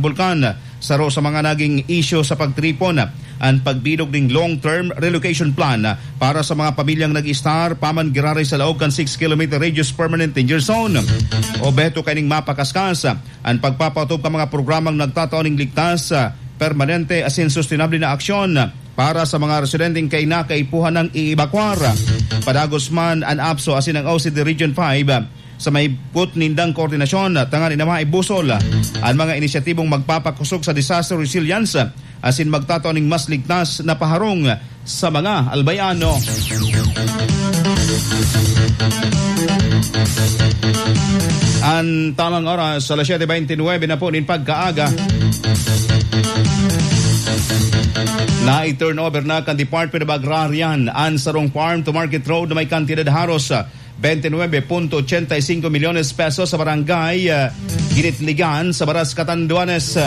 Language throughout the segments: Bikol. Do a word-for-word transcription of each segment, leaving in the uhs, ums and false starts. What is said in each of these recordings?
Bulkan. Saro sa mga naging isyu sa pagtiripon, an pagbilog ning long-term relocation plan para sa mga pamilyang nag-istar pa man giraray sa laog kan six kilometer radius permanent danger zone. Obheto kaining mapakaskas an pagpapatupad kan mga programang nagtatao ning ligtas, permanente asin sustenable na aksyon para sa mga residenteng kaina kaipuhan nang iibakwar. Padagos man an APSO asin ang O C D Region five sa mahigpit nindang koordinasyon tanganing maibusol an mga inisyatibong magpapakosog sa disaster resilience asin magtatao ning mas ligtas na paharong sa mga Albayano. An tamang oras, alas siyete bente nuebe na po nin pagkaaga. Na-turnover na kan Department of Agrarian an sarong farm to market road na may kantidad haros bente nuebe punto ochenta y cinco milyones pesos sa barangay, ah, Ginitligan sa Baras, Catanduanes.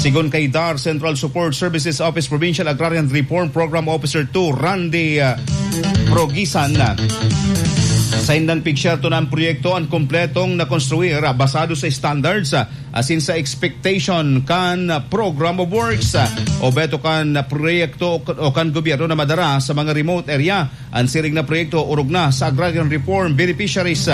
Sigon kay DAR Central Support Services Office Provincial Agrarian Reform Program Officer two Randy, ah, Progisan, ah, sa indang pigsyerto na ang proyekto an kompletong nakonstruir, ah, basado sa standards, ah, asin sa expectation kan Program of Works, ah, obheto kan proyekto o kan gobyerno na madara sa mga remote area. An siring na proyekto orog na sa agrarian reform beneficiaries.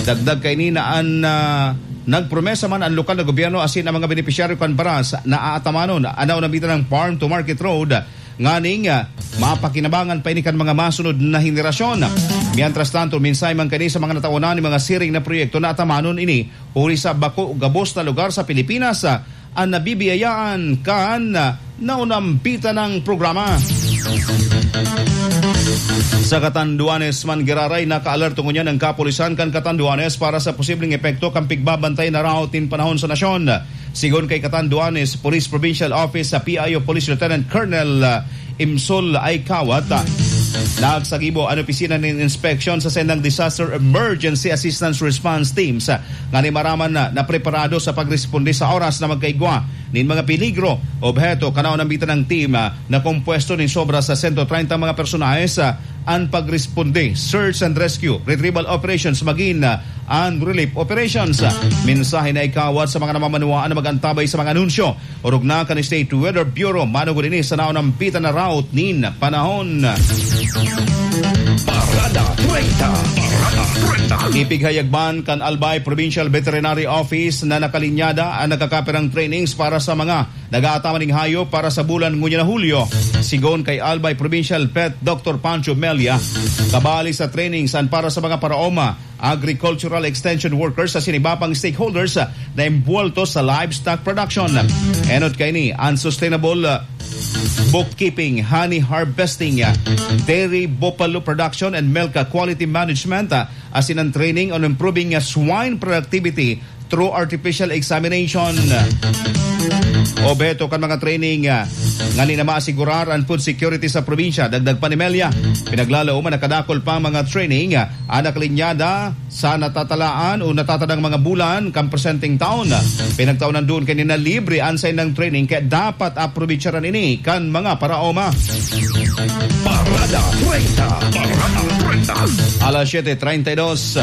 Dagdag kaini na an, ah, nagpromesa man an lokal na gobyerno asin ang mga benepisyaryo kan Baras na aatamanon an naunambitan na farm to market road nganing, ah, mapakinabangan pa ini kan mga masunod na henerasyon. Mientras tanto, mensahe man kaini sa mga nataonan nin mga siring na proyekto na atamanon ini huli sa bako gabos na lugar sa Pilipinas, ah, an nabibiyayaan kan, ah, naunambitan na programa. Sa Catanduanes man giraray, nakaalerto ngunyan ang kapulisan kan Catanduanes para sa posibleng epekto kan pigbabantay na rout nin panahon sa nasyon. Sigon kay Catanduanes Police Provincial Office sa P I O Police Lieutenant Colonel, ah, Imsol Ay Kawat, ah, nagsagibo an opisina nin inspeksyon sa sendang Disaster Emergency Assistance Response Teams, ah, ngani maraman na, na preparado sa pagresponde sa oras na magkaigwa nin mga peligro. Obheto kan naunambitan na team, ah, na kompuesto nin sobra sa sento treinta mga personahes, ah, an pagresponde, search and rescue, retrieval operations, magin, ah, and relief operations. Mensahe na ikawat sa mga namamanwaan na mag-antabay sa mga anunsyo orog na kan State Weather Bureau manugod ini sa naunambitan na rout nin panahon. Parada treinta. Parada treinta. Ipighayag man kan Albay Provincial Veterinary Office na nakalinyada an nagkakapirang trainings para sa mga nag-aataman ning hayop para sa bulan ngunyan na Hulyo. Sigon kay Albay Provincial Vet Doctor Pancho Melia, kabali sa trainings an para sa mga paraoma, agricultural extension workers asin iba pang stakeholders, ah, na imbwelto sa livestock production. Enot kaini an sustainable, ah, bookkeeping, honey harvesting, ah, dairy buffalo production and milk, ah, quality management, ah, asin ang training on improving, ah, swine productivity through artificial examination. Obheto kan mga training, ah, ngani na maasigurar an food security sa probinsya. Dagdag pa ni Melia, pinaglalaom an nakadakul pang mga training, ah, an nakalinyada sa natatalaan o natatadang mga bulan kan presenteng taon. Pinagtaonan duon kaini na libre an saindang training, kaya dapat aprovecharaan ini kan mga paraoma. Parada treinta. Parada treinta. Alas siyete treinta y dos.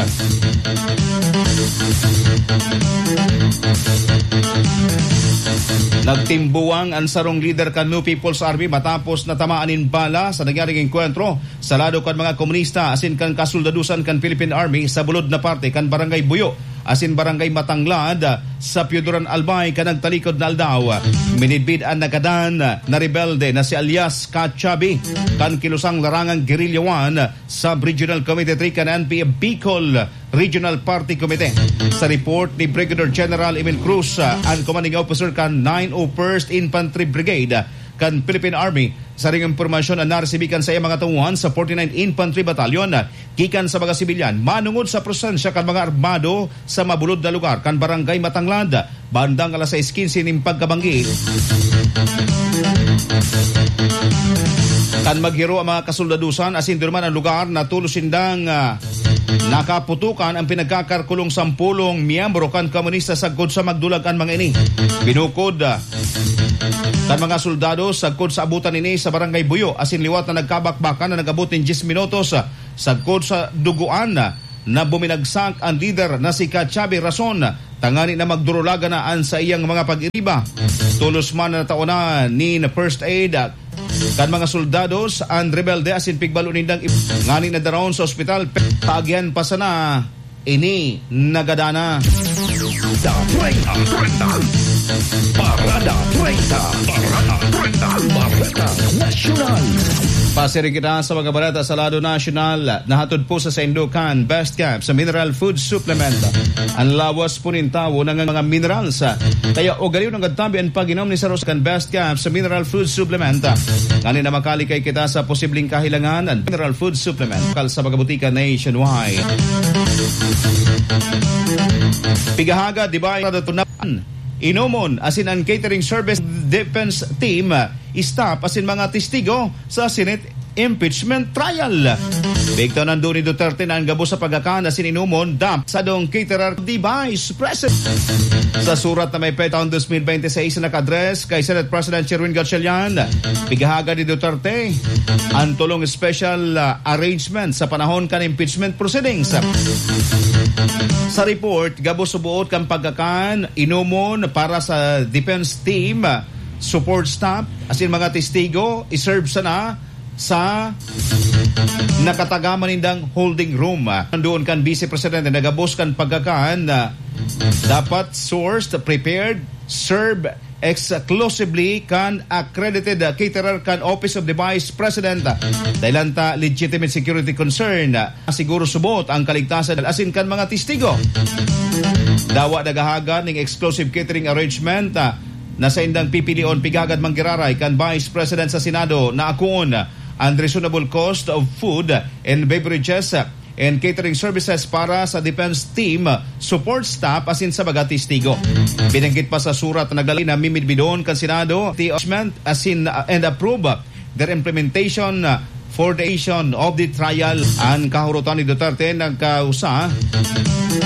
Nagtimbuwang an sarong lider kan New People's Army matapos natamaan nin bala sa nangyaring engkwentro sa lado kan mga komunista asin kan kasoldadusan kan Philippine Army sa bulod na parte kan Barangay Buyo asin Barangay Matanglad sa Pioduran, Albay, kan nagtalikod na aldaw. Minidbid an nagadan na rebelde na si alias Kachabi kan kilosang larangang Guerrilla One Sub-Regional Committee three kan N P F Bicol Regional Party Committee. Sa report ni Brigadier General Emil Cruz, ah, an commanding officer kan nine oh first Infantry Brigade kan Philippine Army, saring impormasyon an naresibi kan saiyang mga tauhan sa forty-ninth Infantry Battalion, ah, gikan sa mga sibilyan manongod sa presensya kan mga armado sa mabulod na lugar kan Barangay Matanglad bandang alas sais quince nin pagkabanggi. Kan maghiro ang mga kasoldadusan asin duman ang lugar na tolos sindang, ah, nakaputukan ang pinagkakarkulong sampolong miyembro kan komunista sagkod sa magdulag an mga ini. Binukod, ah, kan mga soldado sagkod sa abutan ini sa Barangay Buyo asin liwat na nagkabakbakan na nag-abot nin diyes minutos, ah, sagkod sa dugoan, ah, na buminagsak an lider na si Kachabi Rason tangani na magdurulagan na an saiyang mga pag-iriba. Tolos man na tao na nin first aid, ah, kan mga soldados an rebelde asin pigbalo nindang ip-, ngani na daraon sa ospital. Pe-, taagihan pa sana ini nagadana. Treinta, treinta. Parada treinta. Parada treinta. Bareta Nasyonal. Pasiring kita sa mga bareta sa lado nasyonal. Nahatod po sa saindo kan Best Cap sa Mineral Food Supplement. Ang lawas po nin tawo ng mga minerals. Kaya ugaliw ng gadtabi ang pag-inom ni Saros kan Best Cap sa Mineral Food Supplement. Ngani na makalikay kita sa posibleng kahilangan ng Mineral Food Supplement. Kal sa mga butika nationwide. Pigahaga, di ba, inomon, asin ang catering service defense team, staff, asin mga testigo sa Senate impeachment trial. Bigtaw nandun ni Duterte na ang gabos sa pagkakan na sininomon dap sa dong caterer di Vice President. Sa surat na may petang dos mil bente seis na naka-address kay Senate President Sherwin Gatchalian, pigahaga ni Duterte ang tolong special, ah, arrangement sa panahon kan impeachment proceedings. Sa report, gabos subuot kan pagkakan, inomon para sa defense team, support staff, asin mga testigo, iserve sana sa nakatagaman nindang holding room. Nandoon kan Vice Presidente na gabos kan pagkakan na dapat sourced, prepared, serve exclusively kan accredited caterer kan Office of the Vice President. Dahilan ta legitimate security concern. Siguro subot ang kaligtasan asin kan mga testigo. Dawa nagahaga ning exclusive catering arrangement, ah, na saindang pipilion pigagad manggiraray kan Vice President sa Senado na akoon ang reasonable cost of food and beverages and catering services para sa defense team, support staff, asin sa mga testigo. Binanggit pa sa surat na naglalay na mimidbidon kan Senado, the arrangement asin, uh, and approve their implementation, uh, for the action of the trial. Ang kahurotan ni Duterte nagkausa